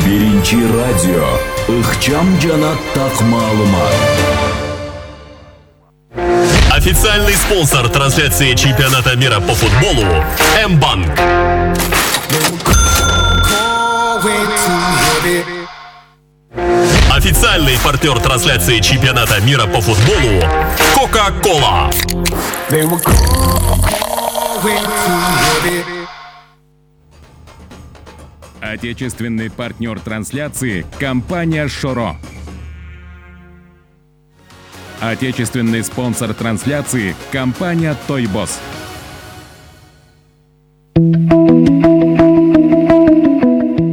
Биринчи радио. Ыкчам жана так маалымат. Официальный спонсор трансляции чемпионата мира по футболу М-банк. Официальный партнер трансляции чемпионата мира по футболу Кока-Кола. Отечественный партнер трансляции – компания «Шоро». Отечественный спонсор трансляции – компания «Тойбос».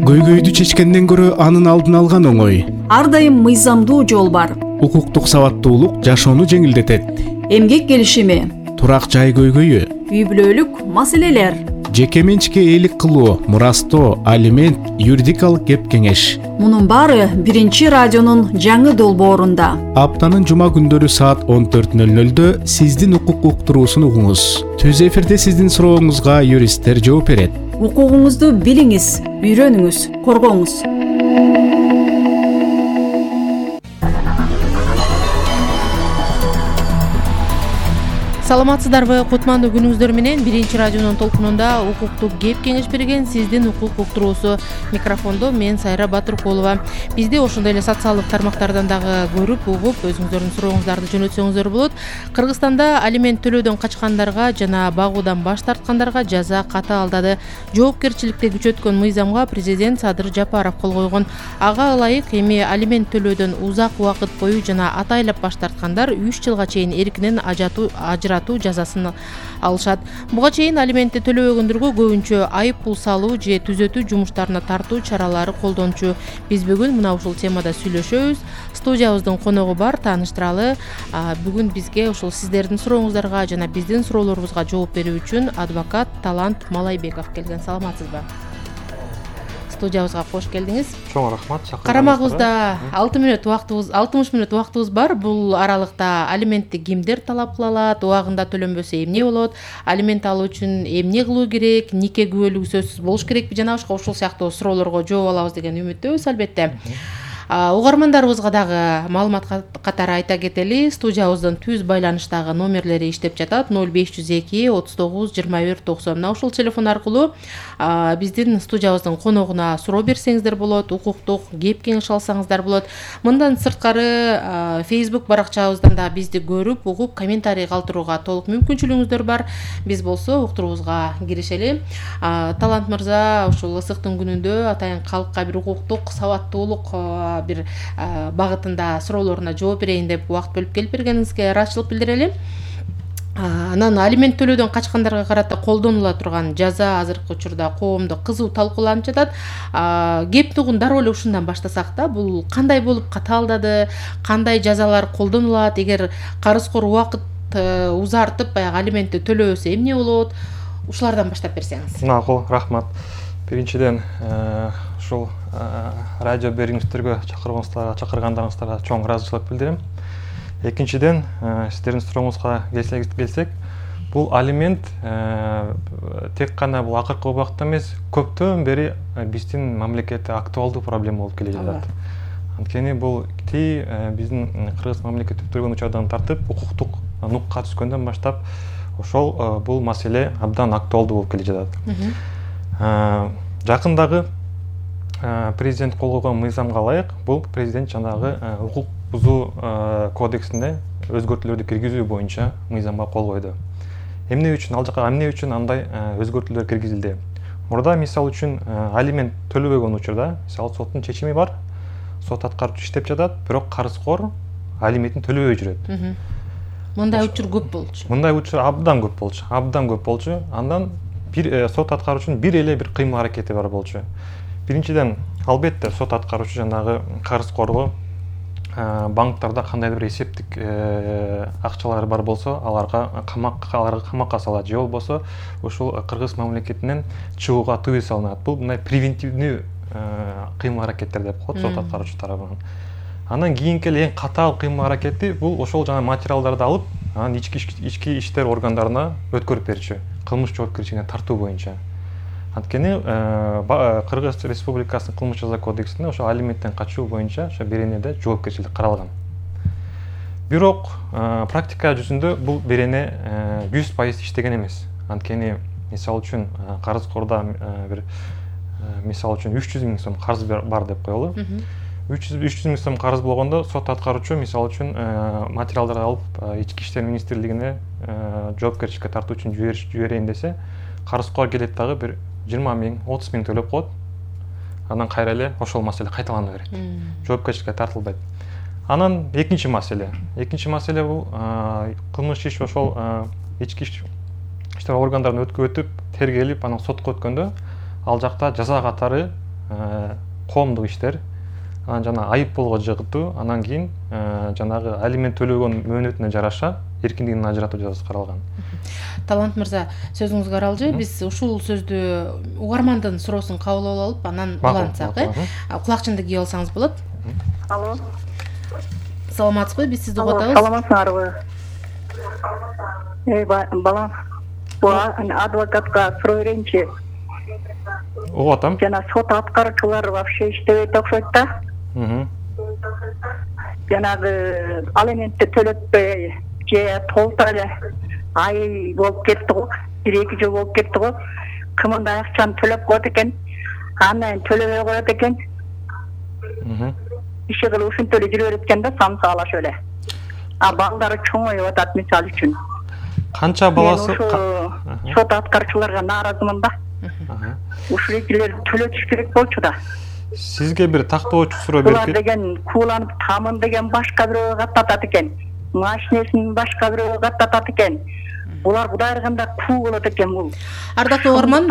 Көйгөйдү чечкенден көрө анын алдын алган оңой. Ар дайым мыйзамдуу жол бар. Укуктук сабаттуулук жашоону жеңилдетет. Эмгек келишими, Турак жай көйгөйү, үй бүлөлүк маселелер, жеке менчикке ээлик кылуу, мурастоо, алимент, юридикалык кеп кеңеш. мунун баары биринчи радионун жаңы долбоорунда. Аптанын жума күндөрү саат 14:00 сиздин укук уктуруусун угуңуз. Түз эфирде сиздин сурооңузга юристтер жооп берет. Укугуңузду билиңиз, үйрөнүңүз, коргоңуз. Саламатсыздарбы, кутмандуу күнүңүздөр менен биринчи радионун толкунунда укуктук кеп кеңеш берген сиздин укук уктуруусу. Микрофондо мен Сайра Батыркулова. Бизди ошондой эле социалдык тармактардан дагы көрүп, угуп, өзүңүздөрдүн сурооңуздарды жөнөтсөңүздөр болот. Кыргызстанда алимент төлөөдөн качкандарга жана багуудан баш тарткандарга жаза катаалдады. Жоопкерчиликти күчөткөн мыйзамга президент Садыр Жапаров кол койгон. Ага ылайык эми алимент төлөөдөн узак убакыт бою жана атайлап баш тарткандар 3 жылга чейин эркинен ажыратуу жазасын алышат. Буга чейин алиментти төлөбөгөндөргө көбүнчө айып пул салуу же түзөтүү жумуштарына тартуу чаралары колдончу. Биз бүгүн мына ушул темада сүйлөшөбүз. Студиябыздын коногу бар, тааныштыралы. Бүгүн бизге ушул сиздердин сурооңуздарга жана биздин суроолорубузга жооп берүү үчүн адвокат Талант Малайбеков келген. Саламатсызбы? Студиябызга кош келдиңиз. Чоң рахмат. Карамагыбызда 60 мүнөт убактыбыз бар. Бул аралыкта алиментти кимдер талап кыла алат, убагында төлөнбөсө эмне болот, алимент алуу үчүн эмне кылуу керек, нике күбөлүгү сөзсүз болуш керекпи жана башка ушул сыяктуу суроолорго жооп алабыз деген үмүттөбүз албетте. Угармандарыбызга дагы маалымат катары айта кетели. Студиябыздын түз байланыштагы номерлери иштеп жатат. 0502 39 21 90. Мына ушул телефон аркылуу биздин студиябыздын коногуна суроо берсеңиздер болот, укуктук кеп кеңеш алсаңыздар болот. Мындан сырткары Facebook баракчабыздан да бизди көрүп, угуп, комментарий калтырууга толук мүмкүнчүлүгүңүздөр бар. Биз болсо уктуруубузга киришели. Талант мырза ушул ысыктын күнүндө атайын калкка бир укуктук сабаттуулук бир багытында суроолоруна жооп берейин деп убакыт бөлүп келип бергениңизге ыраазычылык билдирели. Анан алимент төлөөдөн качкандарга карата колдонула турган жаза азыркы учурда коомдо кызуу талкууланып жатат. Кепти угун дароо эле ушундан баштасак да, бул кандай болуп катаалдады, кандай жазалар колдонулат, эгер карызкор убакыт узартып баягы алиментти төлөбөсө эмне болот? Ушулардан баштап берсеңиз. Макул, рахмат. Биринчиден ушул радио берүүчүлөргө чакыргандарыңыздарга чоң ыраазычылык билдирем. Экинчиден, сиздердин сурооңузга келсек, бул алимент тек гана бул акыркы убакытта эмес, көптөн бери биздин мамлекетте актуалдуу проблема болуп келе жатат. Анткени бул биздин кыргыз мамлекети өткөргөн учурдан тартып, укуктук нукка түскөндөн баштап ошол бул маселе абдан актуалдуу болуп келе жатат. Жакындагы президент кол койгон мыйзамга ылайык, бул президент жанагы укук бузуу кодексине өзгөртүүлөрдү киргизүү боюнча мыйзамга кол койду. Эмне үчүн андай өзгөртүүлөр киргизилди? Мурда мисал үчүн алимент төлөбөгөн учурда, мисалы соттун чечими бар, сот аткаруучу иштеп жатат, бирок карызкор алиментин төлөбөй жүрөт. Мындай учур көп болчу. Мындай учур абдан көп болчу. Андан бир сот аткаруучунун бир эле бир кыймыл аракети бар болчу. Биринчиден, албетте сот аткаруучу жанагы карызкорго банктарда кандайдыр бир эсептик акчалары бар болсо, аларга камакка салат, же болбосо ушул кыргыз мамлекетинен чыгууга тыюу салынат. Бул мындай превентивдүү кыймыл аракеттер деп коет сот аткаруучу тарабынан. Андан кийинки эң катаал кыймыл аракети бул ошол жана материалдарды алып, анан ички иштер органдарына өткөрүп берчү, кылмыш жоопкерчилигине тартуу боюнча. Анткени Кыргыз Республикасынын кылмыш жаза кодексинде ошо алименттен качуу боюнча ошо беренеде жоопкерчилик каралган. Бирок практика жүзүндө бул берене 100% иштеген эмес. Анткени мисалы үчүн карызкордо бир мисалы үчүн 300 000 сом карыз бар деп коелу. 300 000 сом карыз болгондо сот аткаруучу мисалы үчүн материалдарды алып Ички иштер министрлигине жоопкерчиликке тартуу үчүн жиберейин десе, карызкор келет дагы бир 20 000, 30 000 төлөп коет. Анан кайра эле ошол маселе кайталана берет. Жоопкерчиликке тартылбайт. Анан экинчи маселе бул кылмыш иш ошол ички иштер органдарынан өтүп, тергелип, анан сотко өткөндө ал жакта жаза катары коомдук иштер, анан жана айыппулго жыгытуу, анан кийин жанагы алимент төлөгөн мөөнөтүнө жараша эркиндигинен ажыратуу жазасы каралган. Талант мырза, сөзүңүзгө аралжы. Биз ушул сөздү угармандын суроосун кабыл алып, анан улантсак, кулакчынды кийип алсаңыз болот. Алло. Саламатсызбы? Биз сизди угуп атабыз. Саламатсыңарбы? Балам, адвокатка суроо берейинчи. Угуп атам. Жана сот аткаруучулар вообще иштебейт окшойт да. Жанагы алиментти төлөтпөй же толтура эле ай болуп кетти го, 1-2 жыл болуп кетти го. Кымында акчаны төлөп коет экен, андан төлөбөй коет экен. Иши кылып ушинтип эле жүрө берет экен да, самсаала шөле. Балдары чоңоюп атат мисалы үчүн. Канча баласы? Сот аткаруучуларга нааразымын да. Ушул экилер төлөтүш керек болчу да. Сизге бир тактоочу суроо берип. Булар деген кууланып тамын деген башка бирөөгө каттатат экен. Машинесин башка бирөөгө каттатат экен. Булар Кудай ыргында куу болот экен бул. Ардактуу угарман,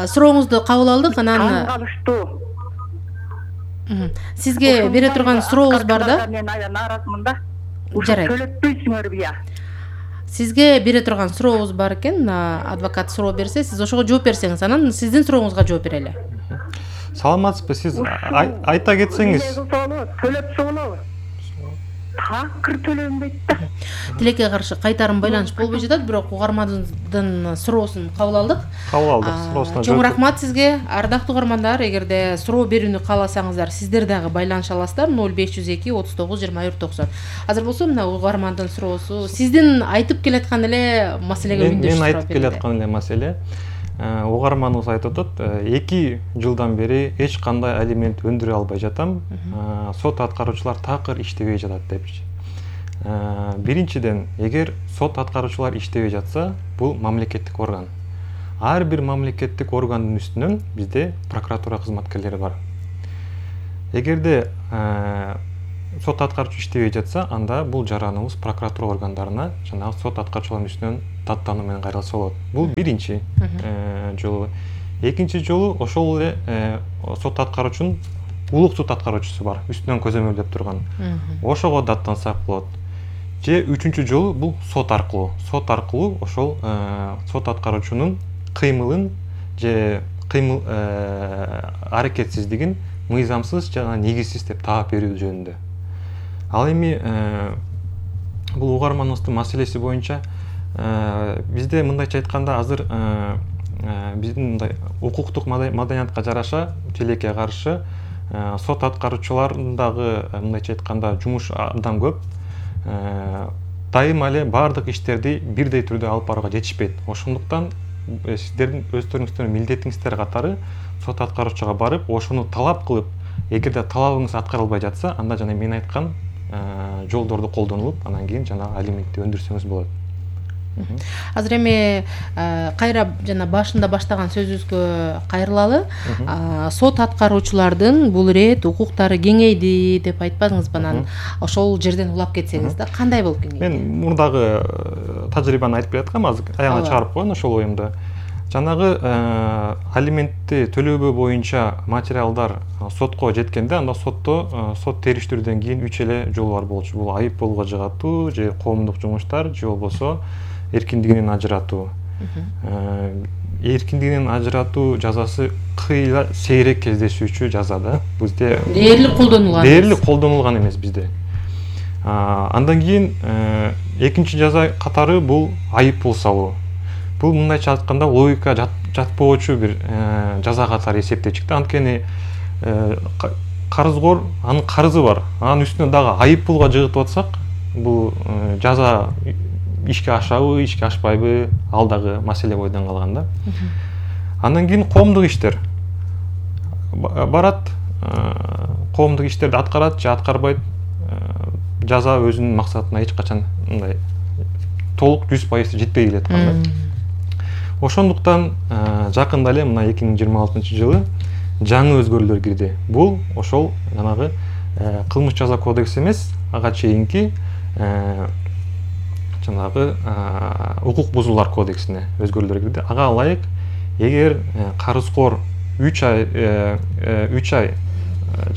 сурооңузду кабыл алдык, анан калыштуу. Сизге бере турган сурообуз бар да. Мен нааразымын да. Жарайт. Төлөтпөйсүңөр бия. Сизге бере турган сурообуз бар экен, адвокат суроо берсе, сиз ошого жооп берсеңиз, анан сиздин сурооңузга жооп берели. Саламатсызбы, сиз айта кетсеңиз. Төлөтсө болобу? Такыр төлөнбөйт да. Тилекке каршы кайтарым байланыш болбой жатат, бирок угармандын суроосун кабыл алдык. Суроосуна чоң рахмат сизге. Ардактуу угармандар, эгерде суроо берүүнү кааласаңыздар, сиздер дагы байланыша аласыздар 0502 39 24 90. Азыр болсо мына угармандын суроосу сиздин айтып келаткан эле маселеге үндөшүп мен айтып келаткан эле маселе. Угарманыбыз айтып атат, 2 жылдан бери эч кандай алимент өндүрө албай жатам. Сот аткаруучулар такыр иштебей жатат депчи. Биринчиден, эгер сот аткаруучулар иштебей жатса, бул мамлекеттик орган. Ар бир мамлекеттик органдын үстүнөн бизде прокуратура кызматкерлери бар. Эгерде сот аткаруучу иштебей жатса, анда бул жараныбыз прокуратура органдарына жана сот аткаруучулардын үстүнөн даттануу менен кайрылса болот. Бул биринчи жолу. Экинчи жолу ошол эле сот аткаруучунун улук сот аткаруучусу бар, үстүнөн көзөмөлдөп турган. Ошого даттансак болот. Же үчүнчү жолу бул сот аркылуу. Сот аркылуу ошол сот аткаруучунун кыймылын же кыймыл аракетсиздигин мыйзамсыз жана негизсиз деп таап берүү жөнүндө. Ал эми бул угарманыбыздын маселеси боюнча бизде мындайча айтканда азыр биздин мындай укуктук маданиятка жараша тилекке каршы сот аткаруучулардын дагы мындайча айтканда жумуш абдан көп. Дайыма эле баардык иштерди бирдей түрдө алып барууга жетишпейт. Ошондуктан сиздердин өздөрүңүздүн милдетиңиздер катары сот аткаруучуга барып, ошону талап кылып, эгерде талабыңыз аткарылбай жатса, анда жана мен айткан жолдорду колдонулуп, анан кийин жана алиментти өндүрсөңүз болот. Азыр эми кайра жана башында баштаган сөзүбүзгө кайрылалы. Сот аткаруучулардын бул ирет укуктары кеңейди деп айтпадыңызбы? Анан ошол жерден улап кетсеңиз да кандай болуп кеңейди? Мен мурдагы тажрыйбаны айтып бераткам, азыр аягына чыгарып коеюн ошол оюмду. Жанагы алиментти төлөбөө боюнча материалдар сотко жеткенде, анда сотто сот териштирүүдөн кийин 3 эле жол бар болчу. Бул айыппулго жыгатуу, же коомдук жумуштар, же болбосо эркиндигинен ажыратуу. Эркиндигинен ажыратуу жазасы кыйла сейрек кездешүүчү жаза да. Бизде дээрлик колдонулган. Дээрлик колдонулган эмес бизде. Андан кийин экинчи жаза катары бул айыппул салуу. Бул мындайча айтканда логика жатпоочу бир жаза катары эсептеп чыкты. Анткени карызгор анын карызы бар. Анын үстүнө дагы айып пулга жыгытып атсак, бул жаза ишке ашабы, ишке ашпайбы, ал дагы маселе бойдон калган да. Андан кийин коомдук иштер барат, коомдук иштерди аткарат же аткарбайт. Жаза өзүнүн максатына эч качан мындай толук 100% жетпей келаткан да. Ошондуктан жакында эле мына 2026-жылы жаңы өзгөрүүлөр кирди. Бул ошол жанагы кылмыш жаза кодекси эмес, ага чейинки жанагы укук бузуулар кодексине өзгөрүүлөр кирди. Ага ылайык, эгер карызкор 3 ай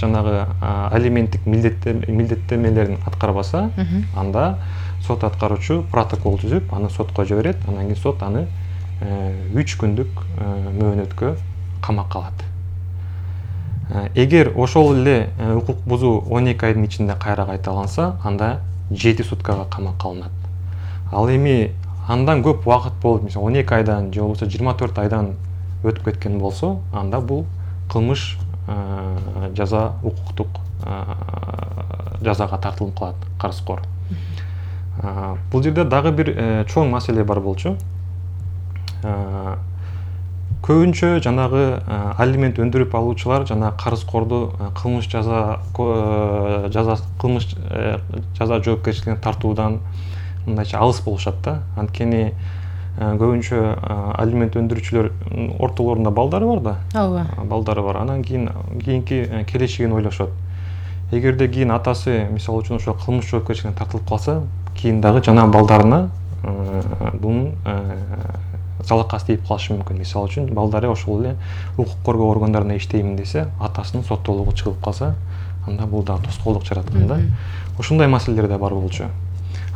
жанагы алименттик милдеттенмелерин аткарбаса, анда сот аткаруучу протокол түзүп, аны сотко жиберет. Андан кийин сот аны 3 күндүк мөөнөткө камакка алат. Эгер ошол эле укук бузуу 12 айдын ичинде кайра кайталанса, анда 7 суткага камакка алынат. Ал эми андан көп убакыт болуп, мисалы 12 айдан же болбосо 24 айдан өтүп кеткен болсо, анда бул кылмыш жаза укуктук жазага тартылып калат карызкор. Бул жерде дагы бир чоң маселе бар болчу. Көбүнчө жанагы алимент өндүрүп алуучулар жана карызкорду кылмыш жаза жоопкерчилигине тартуудан мындайча алыс болушат да. Анткени көбүнчө алимент өндүрүүчүлөр ортолорунда балдары бар да. Ооба. Балдары бар. Анан кийинки келечегин ойлошот. Эгерде кийин атасы мисалы үчүн ошо кылмыш жоопкерчилигине тартылып калса, кийин дагы жана балдарына бунун залакасы тийип калышы мүмкүн. Мисалы үчүн балдары ошол эле укук коргоо органдарында иштеймин десе, атасынын соттолугу чыгып калса, анда бул дагы тоскоолдук жараткан да. Ушундай маселелер да бар болчу.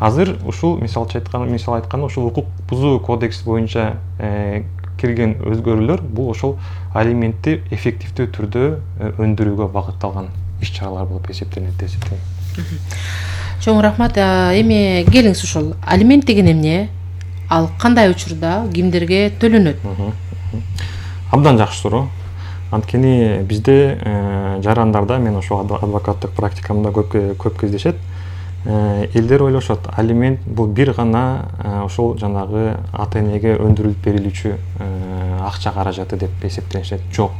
Азыр ушул мисал айтканда ушул укук бузуу кодекси боюнча кирген өзгөрүүлөр бул ошол алиментти эффективдүү түрдө өндүрүүгө багытталган иш-чаралар болуп эсептелет деп эсептейм. Чоң рахмат. Эми келиңиз, ушул алимент деген эмне? Ал кандай учурда кимдерге төлөнөт? Абдан жакшы суроо. Анткени бизде жарандарда, мен ошол адвокаттык практикамда көп кездешет. Элдер ойлошот, алимент бул бир гана ошол жанагы ата-энеге өндүрүлүп берилүүчү акча каражаты деп эсептенишет. Жок.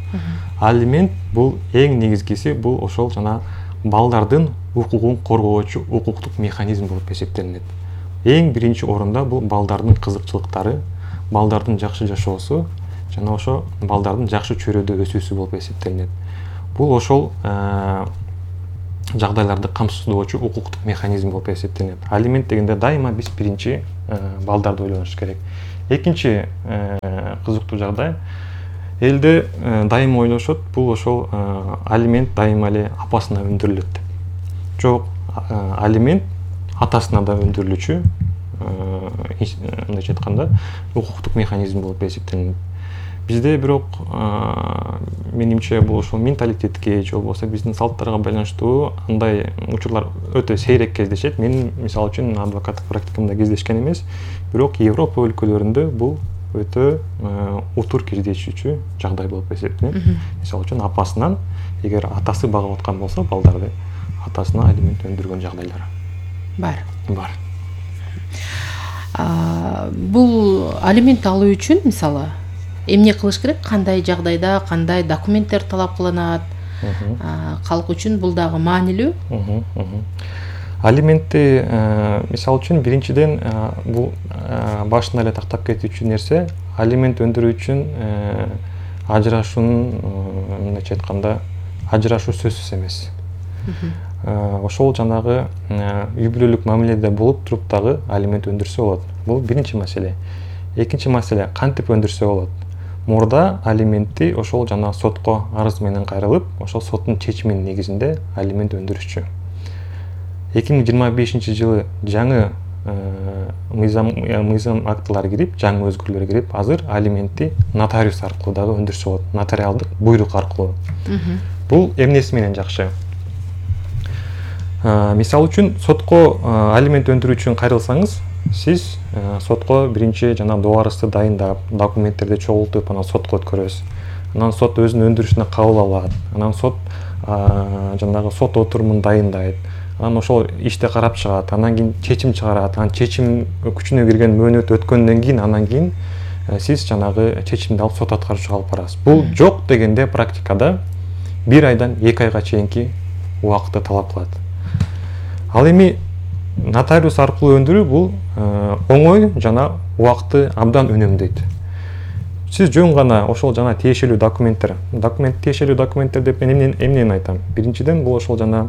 Алимент бул эң негизгиси, бул ошол жана балдардын укугун коргоочу укуктук механизм болуп эсептелинет. Эң биринчи орунда бул балдардын кызыкчылыктары, балдардын жакшы жашоосу жана ошо балдардын жакшы чөйрөдө өсүүсү болуп эсептелинет. Бул ошол жагдайларды камсыздоочу укуктук механизм болуп эсептелинет. Алимент дегенде дайыма биз биринчи балдарды ойлонуш керек. Экинчи кызыктуу жагдай, элде дайыма ойлошот, бул ошол алимент дайыма эле апасына өндүрүлөт деп. Жок, алимент атасына да өндүрүлүүчү, мындайча айтканда, укуктук механизм болуп эсептелинет. Бизде бирок менимче бул ошол менталитетке же болбосо биздин салттарга байланыштуу андай учурлар өтө сейрек кездешет. Мен мисалы үчүн адвокаттык практикамда кездешкен эмес, бирок Европа өлкөлөрүндө бул өтө утур кездешүүчү жагдай болуп эсептелет. Мисалы үчүн апасынан, эгер атасы багып аткан болсо, балдарды атасына алимент өндүргөн жагдайлар бар. Бул алимент алуу үчүн мисалы эмне кылыш керек? Кандай жагдайда, кандай документтер талап кылынат? Калк үчүн бул дагы маанилүү. Алиментти мисалы үчүн биринчиден бул башында эле тактап кетүүчү нерсе, алимент өндүрүү үчүн ажырашуунун, мындайча айтканда, ажырашуу сөзсүз эмес. Ошол жанагы үй бүлөлүк мамиледе болуп туруп дагы алимент өндүрсө болот. Бул биринчи маселе. Экинчи маселе, кантип өндүрсө болот? Мурда алиментти ошол жана сотко арыз менен кайрылып, ошол соттун чечиминин негизинде алимент өндүрүшчү. 2025-жылы жаңы мыйзам актылары кирип, жаңы өзгөрүүлөр кирип, азыр алиментти нотариус аркылуу дагы өндүрсө болот, нотариалдык буйрук аркылуу. Бул эмнеси менен жакшы? Мисалы үчүн сотко алимент өндүрүү үчүн кайрылсаңыз, сиз сотко биринчи жана добарызды дайындап, документтерди чогултуп, анан сотко өткөрөсүз. Анан сот өзүнүн өндүрүшүнө кабыл алат. Анан сот жанагы сот отурумун дайындайт. Анан ошол ишти карап чыгат. Анан кийин чечим чыгарат. Анан чечим күчүнө кирген мөөнөт өткөндөн кийин анан кийин сиз жанагы чечимди алып сот аткаруучуга алып барасыз. Бул жок дегенде практикада 1 айдан 2 айга чейинки убакытты талап кылат. Ал эми нотариус аркылуу өндүрүү бул оңой жана убакытты абдан үнөмдөйт. Сиз жөн гана ошол жана тиешелүү документтер, тиешелүү документтер деп мен эмнени айтам? Биринчиден бул ошол жана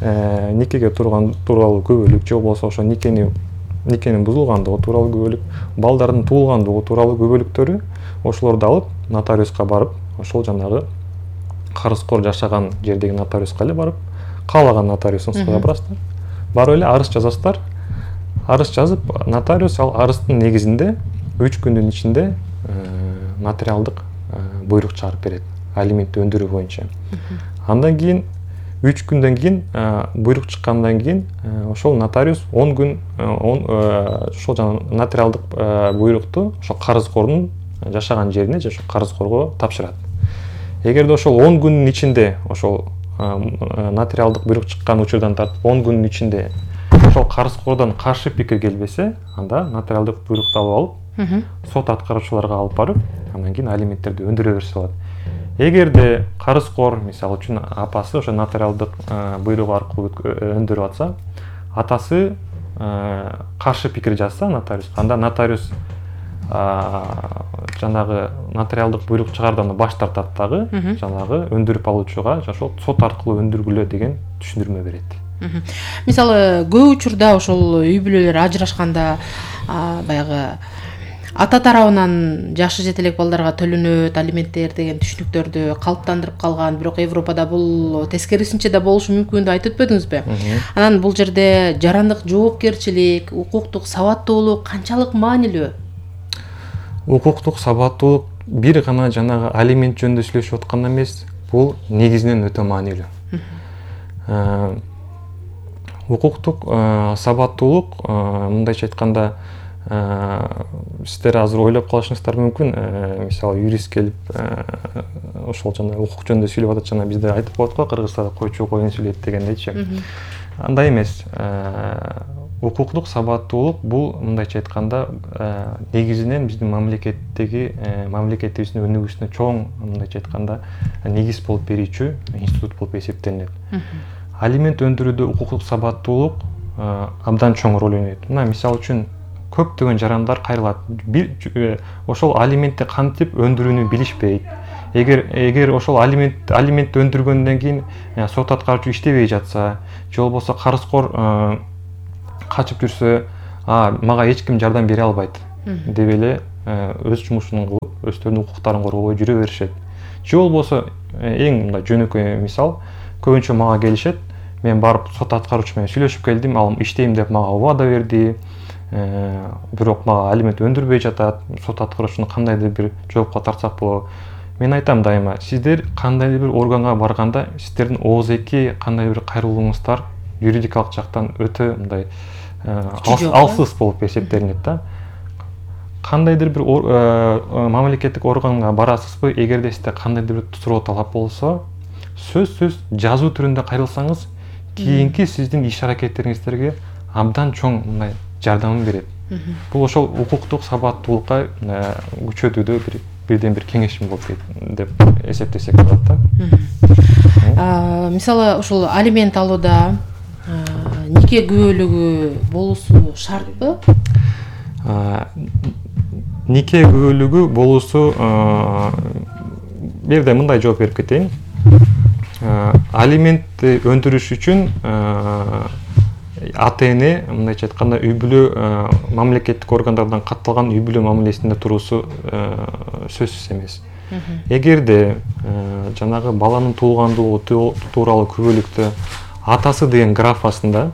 никеге тууралуу күбөлүк, же болбосо ошо никенин бузулгандыгы тууралуу күбөлүк, балдардын туулгандыгы тууралуу күбөлүктөрү, ошолорду алып нотариуска барып, ошол жанагы карызкор жашаган жердеги нотариуска эле барып, каалаган нотариусуңузга барасыздар. Барып эле арыз жазасыздар. Арыз жазып, нотариус ал арыздын негизинде 3 күндүн ичинде нотариалдык буйрук чыгарып берет, алиментти өндүрүү боюнча. Андан кийин 3 күндөн кийин буйрук чыккандан кийин ошол нотариус 10 күн ошол жана нотариалдык буйрукту ошол карызкордун жашаган жерине же ошол карызкорго тапшырат. Эгерде ошол 10 күндүн ичинде ошол нотариалдык буйрук чыккан учурдан тартып 10 күндүн ичинде ошол карызкордон каршы пикир келбесе, анда нотариалдык буйрукту алып алып сот аткаруучуларга алып барып, андан кийин алименттерди өндүрө берсе болот. Эгерде карызкор, мисалы үчүн апасы ошо нотариалдык буйрук аркылуу өндүрүп атса, атасы каршы пикир жазса нотариуска, анда нотариус жанагы нотариалдык буйрук чыгаруудан баш тартат дагы, жанагы өндүрүп алуучуга ошол сот аркылуу өндүргүлө деген түшүндүрмө берет. Мисалы, көп учурда ошол үй бүлөлөр ажырашканда баягы ата тарабынан жашы жете элек балдарга төлөнөт алименттер деген түшүнүктөрдү калыптандырып калган, бирок Европада бул тескерисинче да болушу мүмкүн деп айтып өтпөдүңүзбү? Анан бул жерде жарандык жоопкерчилик, укуктук сабаттуулук канчалык маанилүү? Укуктук сабаттуулук бир гана жанагы алимент жөнүндө сүйлөшүп атканда эмес, бул негизинен өтө маанилүү. Укуктук сабаттуулук, мындайча айтканда, сиздер азыр ойлоп калышыңыздар мүмкүн, мисалы юрист келип ошол жана укук жөнүндө сүйлөп атат, жана бизде айтып коет го, кыргызстанда койчу коюн сүйлөйт дегендейчи. Андай эмес. Укуктук сабаттуулук бул мындайча айтканда негизинен биздин мамлекетибиздин өнүгүүсүнө чоң мындайча айтканда негиз болуп берүүчү институт болуп эсептелинет. Алимент өндүрүүдө укуктук сабаттуулук абдан чоң роль ойнойт. Мына мисалы үчүн көптөгөн жарандар кайрылат. Ошол алиментти кантип өндүрүүнү билишпейт. Эгер ошол алиментти өндүргөндөн кийин сот аткаруучу иштебей жатса, же болбосо карызкор качып жүрсө, мага эч ким жардам бере албайт деп эле өз жумушун кылып, өздөрүнүн укуктарын коргобой жүрө беришет. Же болбосо эң мындай жөнөкөй мисал, көбүнчө мага келишет, мен барып сот аткаруучу менен сүйлөшүп келдим, ал иштейм деп мага убада берди, бирок мага алимент өндүрбөй жатат, сот аткаруучуну кандайдыр бир жоопко тартсак болобу? Мен айтам дайыма, сиздер кандайдыр бир органга барганда, сиздердин ооз-эки кандайдыр бир кайрылууңуздар юридикалык жактан өтө мындай алсыз болуп эсептелинет да. Кандайдыр бир мамлекеттик органга барасызбы, эгерде сизде кандайдыр бир суроо талап болсо, сөзсүз жазуу түрүндө кайрылсаңыз, кийинки сиздин иш аракеттериңиздерге абдан чоң мындай жардамын берет. Бул ошол укуктук сабаттуулукка күчөтүүдө бирден бир кеңешим болуп деп эсептесек болот да. Мисалы, ошол алимент алууда нике күбөлүгү болуусу шартпы? Нике күбөлүгү болуусу, бир жерде мындай жооп берип кетейин. Алиментти өндүрүш үчүн ата-эне мындайча айтканда үй бүлө мамлекеттик органдардан катталган үй бүлө мамилесинде туруусу сөзсүз эмес. Эгерде жанагы баланын туулгандыгы тууралуу күбөлүктө атасы деген графасында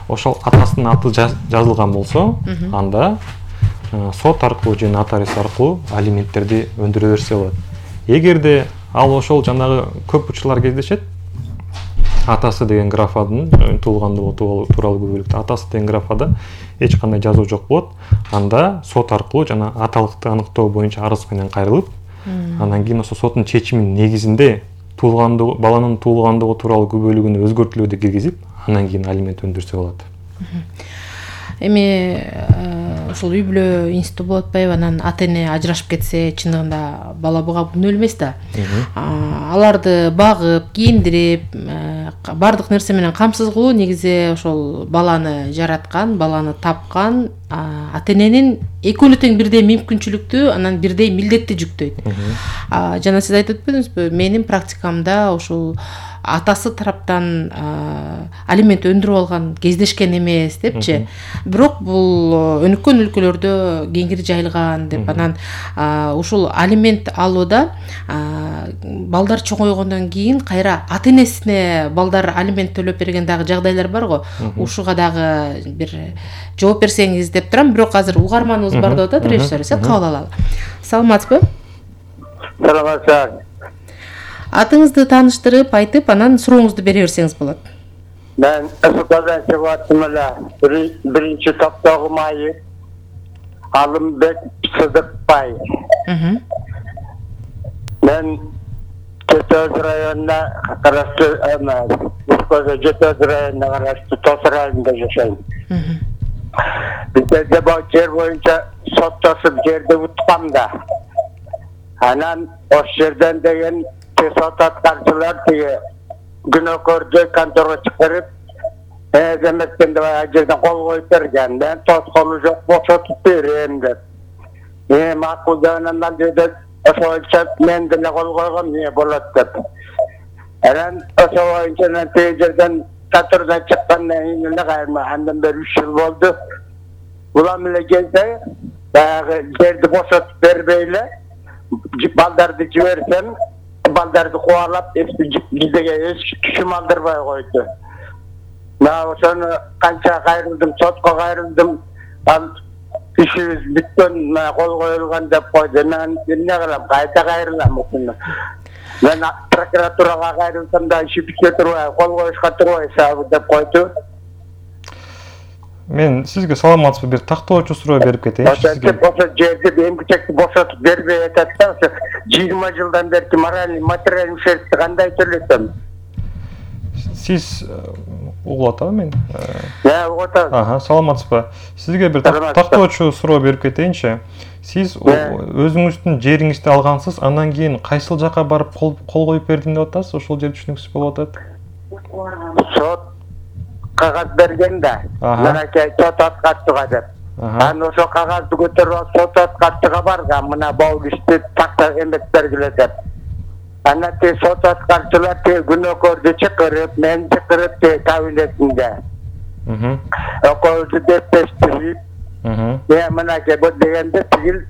ошол атасынын аты жазылган болсо, анда сот аркылуу же нотариус аркылуу алименттерди өндүрө берсе болот. Эгерде ал ошол жанагы көп учурлар кездешет, атасы деген графадын туулгандыгы тууралуу күбөлүктө атасы деген графада эч кандай жазуу жок болот. Анда сот аркылуу жана аталыкты аныктоо боюнча арыз менен кайрылып, андан кийин ошо соттун чечиминин негизинде баланын туулгандыгы тууралуу күбөлүгүнө өзгөртүүлөрдү киргизип, андан кийин алимент өндүрсө болот. Эми ушул үй бүлө институту болуп атпайбы, анан ата эне ажырашып кетсе чындыгында бала буга күнөө элмес да. Аларды багып, кийиндирип, бардык нерсе менен камсыз кылуу негизи ошол баланы жараткан, баланы тапкан ата эненин экөөнү тең бирдей мүмкүнчүлүктүү, анан бирдей милдетти жүктөйт. Жана сиз айтып өтпөдүңүзбү, менин практикамда ушул атасы тараптан алимент өндүрүп алган кездешкен эмес депчи. Бирок бул өнүккөн өлкөлөрдө кеңири жайылган деп, анан ушул алимент алууда балдар чоңойгондон кийин кайра ата энесине балдар алимент төлөп берген дагы жагдайлар бар го. Ушуга дагы бир жооп берсеңиз деп турам. Бирок азыр угарманыбыз бар деп атат режиссер, кабыл алалы. Саламатсызбы? Саламатсыз. Атыңызды тааныштырып, айтып, анан сурооңузду бере берсеңиз болот. Мен Ысыкалдан чыгып аттым эле. Биринчи топтогу майы. Алымбек Сыдыкбай. Мен Жетөз районуна караштуу Жетөз районуна караштуу Тос районунда жашайм. Бизде жер боюнча соттошуп жерди уткам да. Анан ош жерден деген сот аткарчылар тиги күнөөкөрдү конторго чыгарып, эметкен деп жерден кол коюп берген. Мен тоскону жок, бошотуп берем деп. Макул деп анан жерде ошоңча мен деле кол койгом, эмне болот деп. Анан ошо боюнча тиги жерден контордон чыккандан кийин эле кайрма андан бери 3 жыл болду. Улам эле келсе, баягы жерди бошотуп бербей эле балдарды жиберсем, балдарды кубалап, биздеге эч түшүм алдырбай койду. Мен ошону канча кайрылдым, сотко кайрылдым. Ал ишибиз бүткөн, кол коюлган деп койду. Мен эмне кылам, кайта кайрылам ошону. Мен прокуратурага кайрылсам да иши бүтө турбай, кол коюшка турбай сабы деп койду. Мен сизге саламатсызбы, бир тактоочу суроо берип кетейинчи сизге. Ошо жерди эмгичекти бошотуп бербей атат да, ошо 20 жылдан бери моральный, материальный ущербти кандай төлөсөм? Сиз угуп атабы мен? Угуп атам. Саламатсызбы. Сизге бир тактоочу суроо берип кетейинчи. Сиз өзүңүздүн жериңизди алгансыз, андан кийин кайсыл жака барып кол коюп бердим деп атасыз? Ошол жерди түшүнүксүз болуп атат. Сот кагаз берген да. Мынакей сот аткарчыга деп. Анан ошо кагазды көтөрүп сот аткарчыга барган, мына бул кишти такта эмет бергиле деп. Анан сот аткарчылар күнөөкөрдү чакырып, мен чакырып кабинетинде. Экөөбүздү дептештирип, мынакей бул дегенде тигил